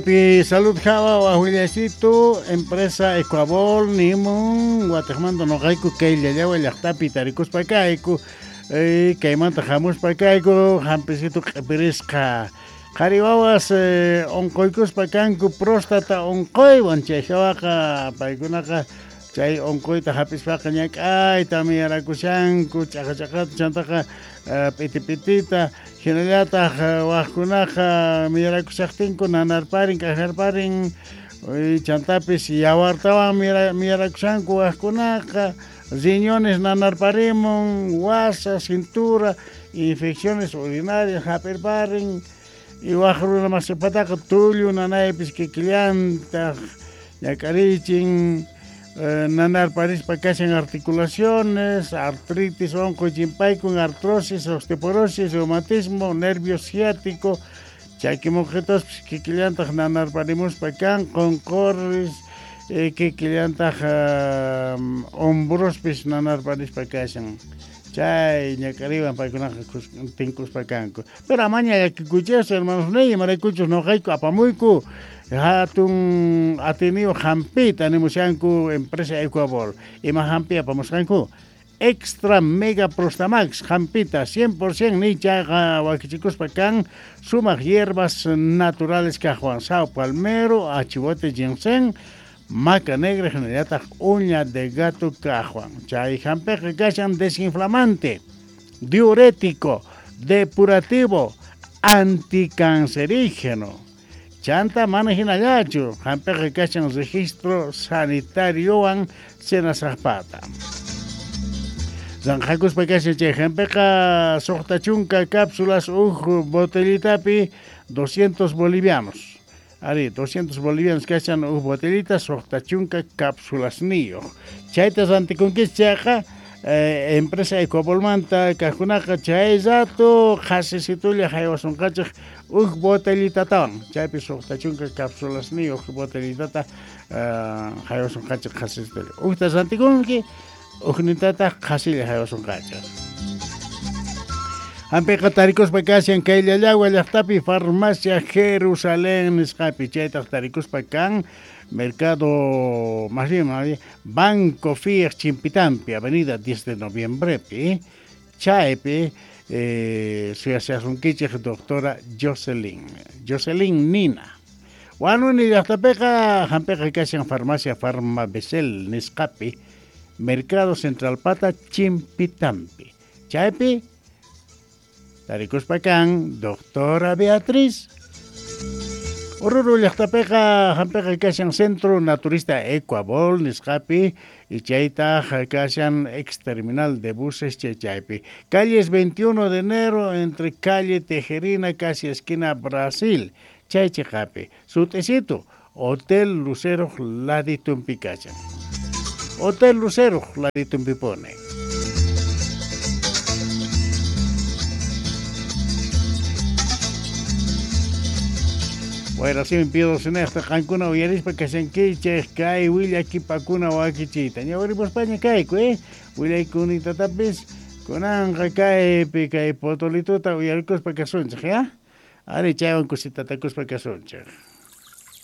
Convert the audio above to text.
Pi Salud Java Willasito, empresa Ecuabol, nimun, Guatemala noqayku kay llallawa llaqtapi tarikuspa kayku, kaymanta hamuspa kayku, hampisitu q'ipirisqa. Qhari wawas unquykuspa kanku próstata unquywan, chay hawaqa paykunaqa chay unquyta hap'ispaqa ñak'ayta miyarakushanku, ch'aqa ch'aqata chantaqa p'iti p'itita, hinallataq waqkunaqa miyarakushaqtinku nanarparin, k'ajarparin, chantapis yawartawan miyarakushanku waqkunaqa, riñones nanarparimun, wasa, cintura, infecciones urinarias hap'irparin, y waq runa masipataqa tullu nanaypis kikillantaq ñak'arichin, nanarparispa kashan articulaciones, artritis, unquy chimpaykun, artrosis, osteoporosis, reumatismo, nervio ciático, chaki muqhituspis kikillantaq nanarparimuspa kan, qunqurris, kikillantaq hombrospis nanarparispa kashan. Chay ñak'ariwan paykunaqa tinkuspa kanku. Pero amaña llakikuychis, hermanos niy, imaraykuchus noqayku apamuyku hatun atiniyuq hampita nimushanku empresa Ecuabol. Ima hampi apamusqanku? Extra Mega Prostamax hampita 100% ni chayqa wakichikuspa kan sumaq hierbas naturales kaqwan, sao palmero, achihuate ginseng, maca negra hinallataq uña de gato kaqwan. Chay hampiqa kashan desinflamante, diurético, depurativo, anticancerígeno. Chanta mana hinallachu, hampiqa kashan registro sanitariowan senasaqpata. Zanjakuspa kashan chay hampiqa suqta chunka cápsulas uj botellitapi 200 bolivianos. Ari, 200 bolivianos kashan uj botellita suqta chunka cápsulas niyuq. Chayta rantikunkichis chayqa empresa Ecuabolmanta kaqkunaqa chay rato qhasisitulla haywasunqachik uj botellitatawan. Chaypi suqta chunka cápsulas niyuq botellitata haywasunqachik qhasisitulla. Ujta rantikunki, ujnintataq qhasilla haywasunqachik. Hampiqa tarikuspa kashan kay Llallagua llaqtapi farmacia Jerusalén nisqapi, chaytaq tarikuspa kan Mercado, más bien, Banco Fiat Chimpitampi, Avenida 10 de Noviembre, chaypi suyashasunkichik doctora Jocelyn, Jocelyn Nina. Wanuni llaqtapiqa hampiqa kashan farmacia Farma Besel nisqapi, Mercado Central Pata Chimpitampi. Chaypi tarikuspa kan doctora Beatriz. Oruro llaqtapiqa hampiqa kashan Centro Naturista Ecuabol nisqapi y chaytaq kashan ex terminal de buses chaypi. Calles 21 de enero entre calle Tejerina casi esquina Brasil. Chay chiqapi. Sut'isito Hotel Lucero laditumpi kashan. Hotel Lucero laditumpi pone. Bueno, así me pido sinesta qankuna uyarispa kashankichik kay willakipakuna wakichiyta. Ñawarimuspaña kayku, willaykunitapis kunanqa kaypi kay potolituta uyarikuspa kasunchik, ya? Ari chaywan kusitatakuspa kasunchik.